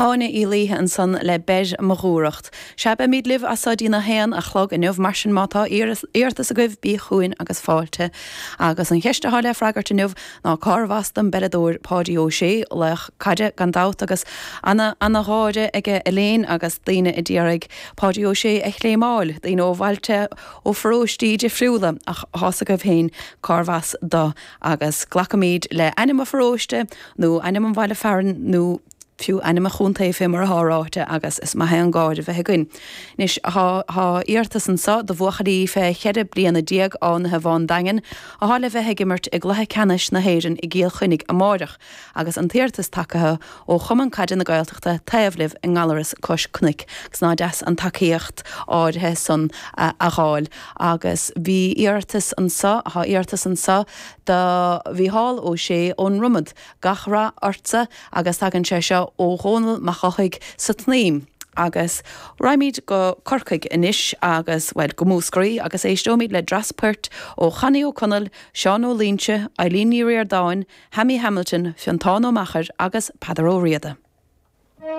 Áine Uí Laoithe ansan le Beir mo Dhúthracht. Sea, beimid libh as so dtí'n 1 a chlog inniu, mar sin má tá iarratas agaibh, bí chugainn agus fáilte. Agus an cheist atá le freagairt inniu ná cárbh as don bpeileadóir Páidí Ó Sé, laoch caide gan dabht agus ana ana gháire aige Elaine agus daoine a d'iarraidh Páidí Ó Sé a chléimeáil, daoine ó bhailte, ó pharóistí difriúla ach tá's agaibh féin cárbh as do agus glacfaimid le ainm an pharóiste nó ainm an bhaile fearainn nó fiú ainm an chontae fé mar atá ráite agus is maith é an gáire bheith againn. Anois thá thá iarratas anso do bhuachaillí fé cheithre bliana déag Fhánaithe Bhán Daingin athá le bheith ag imirt i gcluiche ceannais na hÉireann i gCill Chainnigh amáireach agus an t-iarratas tagaithe ó Chumann Caide na Gaeltachta Taobh Libh i nGallaras cois cnoic agus ná deas an tacaíocht áirithe san a fháil agus bhí iarratas anso thá iarratas anso do Mhícheál Ó Sé ón Dromad Gach rath ortsa agus tagann sé seo ó Dhónall Mac Eochaidh sa tSnaidhm. Agus raghaimid go Corcaigh anois agus, bhuel, go Múscraí agus éisteoimid le dreas poirt ó Chonnie Ó Conaill, Seán Ó Loingsigh, Eileen Ní Ríordáin, Hammy Hamilton, Fiontán Ó Meachair agus Peadar Ó Riada.